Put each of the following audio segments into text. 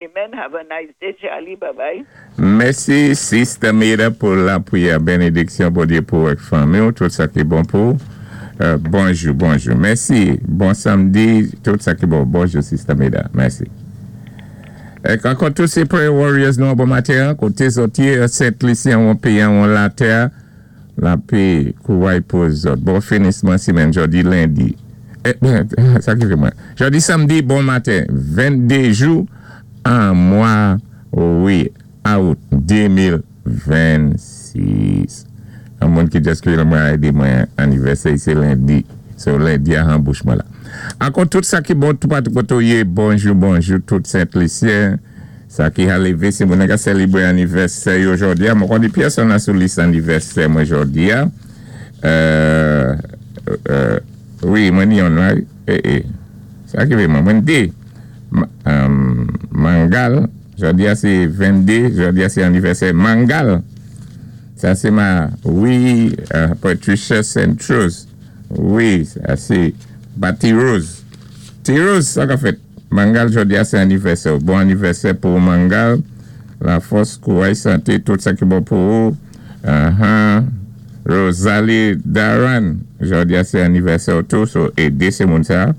Amen. Have a nice day, Charlie. Bye bye. Mèsi, Sister Meda, pou lapwiyè. Bénédiksyon Bondyé pou ou ak fanmi, tout sa ki bon pou ou. Bonjou, bonjou. Mèsi. Bon samdi, tout sa ki bon. Bonjou, Sister Meda. Mèsi. É ankò tout sé Prayer Warriors nou bon maten, koté zòt yé, Sent Lisi, an péyi, an latè, lapè, kouray pou zòt. Bon finisman simenn, jòdi lendi. Sa ki fè mwen. Jòdi samdi, bon maten, 22 jou an mwa, wi, out 2026. Yon moun ki just ki mwen di mwen anivèsè, sé lendi. So lendi a an bouch mwen la. Ankò tout sa ki bon, tout patou koté ou yé, bonjou, bonjou, tout Sent-Lisyen. Sa ki a lévé, sé moun ki sélébwé anivèsè jòdi a. Mwen konnen pèsonn sou lis anivèsè mwen jòdi a. Wi, mwen ni yon la. Sa ki fè mwen, mwen dé. Mangal, jòdi a sé 22, jòdi a sé anivèsè Mangal. Sa sé ma, wi, Patricia Centros. Wi, sa sé Bati Rose. Ti Rose, sa ka fèt. Mangal, jòdi a sé anivèsè. Bon anivèsè pou Mangal. Lafòs, kouray, santé, tout sa ki bon pou ou. Rosalie Daran, jòdi a sé anivèsè tou, so édé sé moun sa.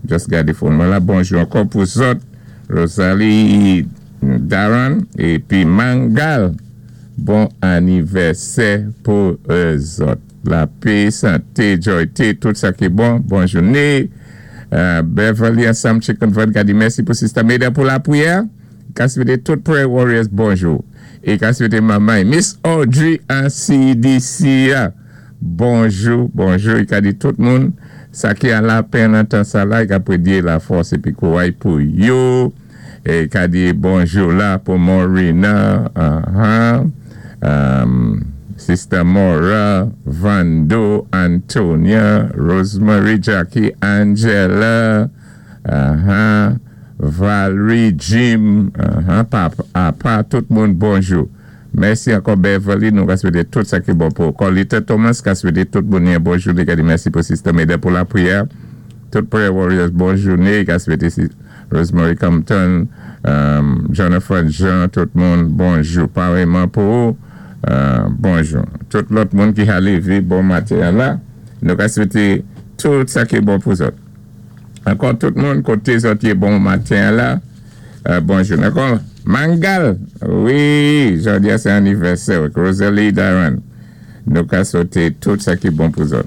Just gadé phone mwen la. Bonjou ankò pou zòt. Rosalie Daran épi Mangal. Bon anivèsè pou zòt. Lapè, santé, joyté, tout sa ki bon. Bon jouné. Beverly ansanm Chicken Van ka di mèsi pou Sister Meda pou lapwiyè. Ka swété tout Prayer Warriors bonjou. É ka swété manman Miss Audrey an CDC. Bonjou, bonjou. I ka di tout moun sa ki an lapenn an tan sa la, i ka pwédyé lafòs épi kouray pou yo. É ka di bonjou la pou Morina, Sister Mora, Vando, Antonia, Rosemary, Jackie, Angela, Valerie, Jim, Papa, apa, tout moun, bonjou. Mèsi ankò Beverly, nou ka swété tout sa ki bon pou. Colita Thomas ka swété tout moun bonjou. Li ka di mèsi pou Sister Meda pou lapwiyè. Tout Prayer Warriors, bon jouné. Ka swété Rosemary Compton, Jonathan Jean, tout moun, bonjou. Parèyman pou ou, bonjou. Tout lòt moun ki a lévé, bon maten la. Nou ka swété tout sa ki bon pou zòt. Ankò tout moun, koté zòt yé bon maten la. Bonjou. Ankò, Mangal, wi, jòdi a sé anivèsè, Rosalie Daran. Nou ka swété tout sa ki bon pou zòt.